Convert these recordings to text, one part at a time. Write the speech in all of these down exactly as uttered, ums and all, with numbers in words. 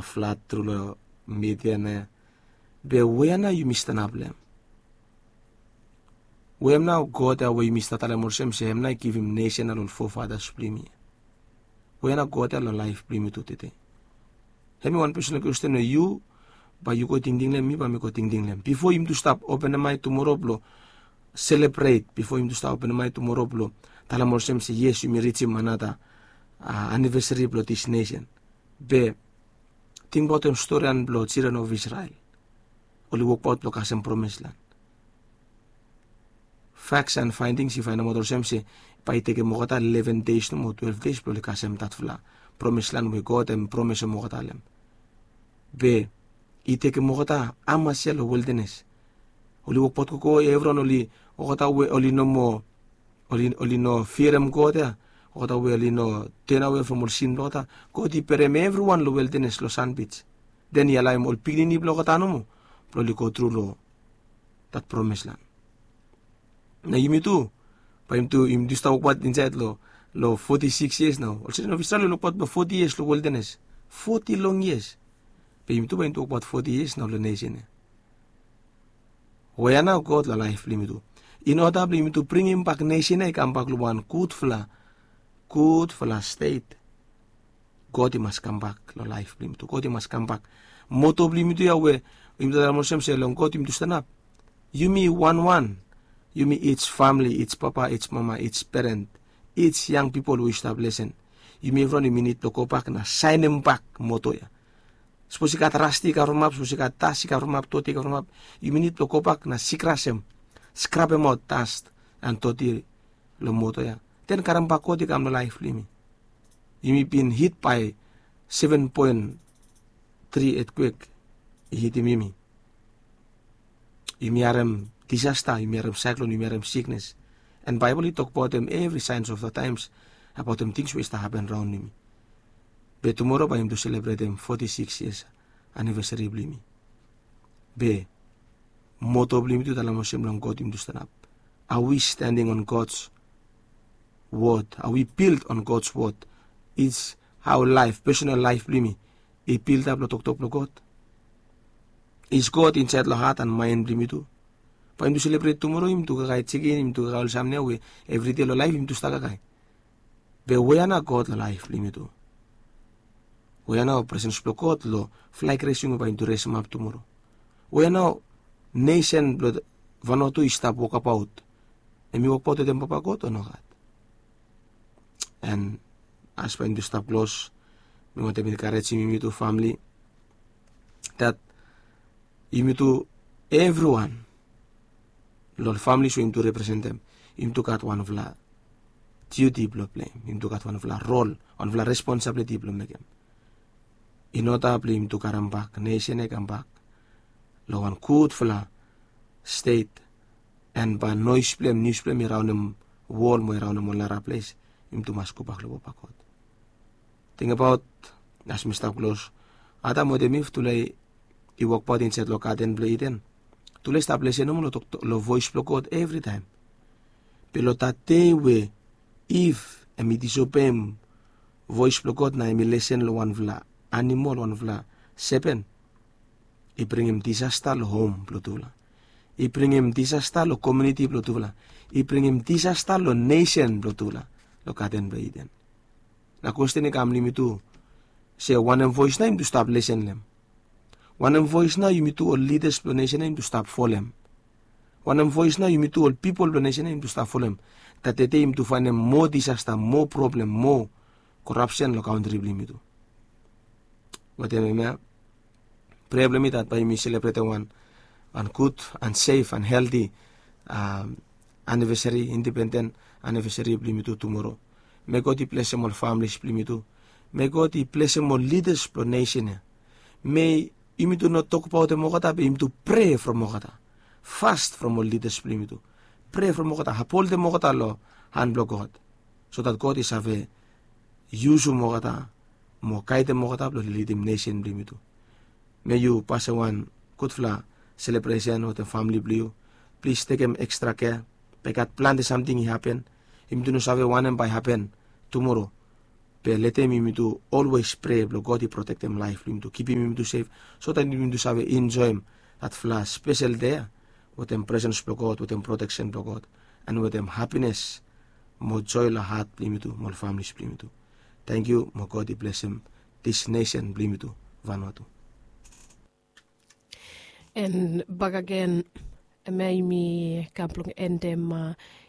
flat tru long media na. Be we ya nao yumi stanap long hem? We hem nao God ya we yumi stap talem olsem se hem nao i givim nesen ya long ol fofatas blong yumi? We ya nao God ya long laef blong yumi tu tede? Hem i wan pesonal kwestin we yu bae yu go tingting long hem, mi bae mi go tingting long hem bifo yumi tu stap openem ae tumoro blong selebret, bifo yumi tu stap openem ae tumoro blong talem olsem se yes, yumi rijim anata anivesari blong dis nesen. Be tingbaotem storian blong children of Israel. Oli wokbaot blong kasem promis lan. Faks an faendings i faenemaot olsem se bae i tekem olgeta leven deis nomo, twelef deis blong oli kasem datfala promis lan we God hem promisem olgeta long hem. Be i tekem olgeta hamas yia long wildanes. Oli wokbaot gogo, evriwan oli, olgeta we oli no moa, oli no firem God ya, olgeta we oli no tenawe from ol sin blong olgeta. God i berem evriwan long wildanes long sanbij. Den i alaem ol pikinini blong olgeta nomo blong oli go tru long dat promis lan. Na yumi tu, bae yumi tu, yumi tu stap wokbaot insaed long, long foti sikis yias nao. Ol children of Israel oli wokbaot blong foti yias long wildanes. Foti long yias. Be yumi tu bae yumi tu wokbaot foti yias nao long nesen ya. We ya nao God long laef blong yumi tu, in oda blong yumi tu bringim bak nesen ya i kambak long wan gudfala, gudfala stet. God i mas kambak long laef blong yumi tu. God i mas kambak. Moto blong yumi tu ya we yumi tu talem olsem se long God yumi tu stanap. Yumi wanwan, yumi each famili, each papa, each mama, each peren, each yang pipol we yu stap lesen, yumi evriwan yumi nid blong gobak na saenem bak moto ya. Sapos i gat rasti i kavremap, sapos i gat das i kavremap, doti i kavremap, yumi nid blong gobak na sikrasem, skrabemaot das an doti long moto ya. Den karem bak God i kam long laef blong yumi. Yumi bin hit bae seven point three etkwek i hitim yumi. Yumi harem disasta, yumi harem saeklon, yumi harem siknes. An Baebol i tokbaotem evri saens of the taems abaotem tings we i stap hapen raon long yumi. Be tumoro bae yumi tu selebretem foti sikis yias anivesari blong yumi. Be moto blong yumi tu talem olsem long God yumi tu stanap. Are we standing on God's word? Are we built on God's word? Is hao laef, pesonal laef blong yumi i bildap long toktok blong God? Is God insaed long hat an maen blong yumi tu? Bae yumi tu selebret tumoro, yumi tu kakae jikin, yumi tu kakae ol samting ya we evride long laef yumi tu stap kakae. Be we ya nao God long laef blong yumi tu? We ya nao presens blong God long flag raising we bae yumi tu resemap tumoro? We ya nao nesen blong Vanuatu i stap wokbaot? Hem i wokbaot wetem Papa God o nogat? An as bae yumi tu stap klos, mi wantem enkarejim yumi tu famili, dat yumi tu, evriwan long ol familis we yumi tu representem, yumi tu gat wanfala diuti blong pleim, yumi tu gat wanfala rol, wanfala responsabiliti blong mekem. In oda blong yumi tu karem bak nesen ya i kambak long wan gudfala stet, an bae noes blong hem, nius blong hem i raonem wol mo i raonem ol nara ples, yumi tu mas gobak long Papa God. Tingbaot, as mi stap klos, Adam wetem Iv tufala i wokbaot insaed long gaden blong Iden. Tufala i stap lesen nomo long voes blong God evritaem. Be long dat dei we Iv hem i disobeim voes blong God na hem i lesen long wanfala animol, wanfala sepen, i bringim disasta long hom blong tufala. I bringim disasta long komuniti blong tufala. I bringim disasta long nesen blong tufala long gaden blong Iden. Na kwesten i kam long yumi tu, se wanem voes nao yumi tu stap lesen long hem? Wanem voes nao yumi tu ol lidas blong nesen ya yumi tu stap folem? Wanem voes nao yumi tu ol pipol blong nesen ya yumi tu stap folem? Dat tede yumi tu faenem moa disasta, moa problem, moa korapsen long kantri blong yumi tu. Wetem hemia, prea blong mi dat bae yumi selebretem wan, wan gud an sef an helti anivesari, indipenden anivesari blong yumi tu tumoro. Me God i blesem ol familis blong yumi tu. Me God i blesem ol lidas blong nesen ya. Me yumi tu no tokbaotem olgeta be yumi tu prea from olgeta. Fas from ol lidas blong yumi tu. Prea from olgeta, apholtem olgeta long han blong God, so dat God i save yusum olgeta mo gaedem olgeta blong lidim nesen blong yumi tu. Me yu pasem wan gudfala selebresen wetem famili blong yu. Plis tekem ekstra kea. Bae i gat plante samting i hapen. Yumi tu no save wanem bae i hapen tumoro. Be letem yumi tu olwes prea blong God i protektem laef blong yumi tu, kipim yumi tu sef, so dat yumi tu save enjoem datfala spesel dei ya wetem presens blong God, wetem proteksen blong God, and wetem hapines mo joe long hat blong yumi tu mo ol familis blong yumi tu. Tangkiu mo God i blesem dis nesen blong yumi tu, Vanuatu. And bakagen, hemia yumi kam blong endem,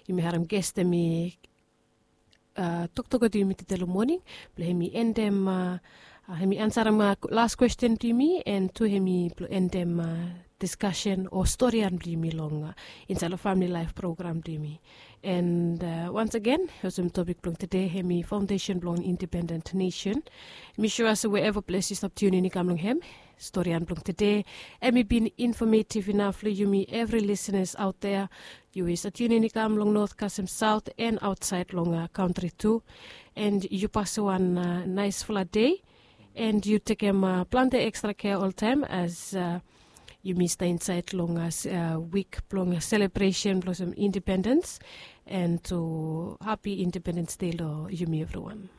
yumi harem ges hemi toktok wetem yumi tede long moning blong hemi endem, hemi ansarem las kwesten blong yumi, and tu hemi blong endem diskasen o storian blong yumi long insaed long famili laef program blong yumi. And wans agen, olsem topik blong tede hemi faondesen blong indipenden nesen. Mi sua se wherever ples yu stap tiunin i kam long hem, storian blong tede hemi bin infamativ inaf long yumi evri lisenas aot dea. Yu i stap tiunin i kam long not kasem saot and aotsaed long kantri tu. And yu pasem wan naesfala dei, and yu tekem plante ekstra kea oltaem as yumi stap insaed long wik blong selebresen blong olsem indipendens. And tu hapi indipendens dei long yumi evriwan.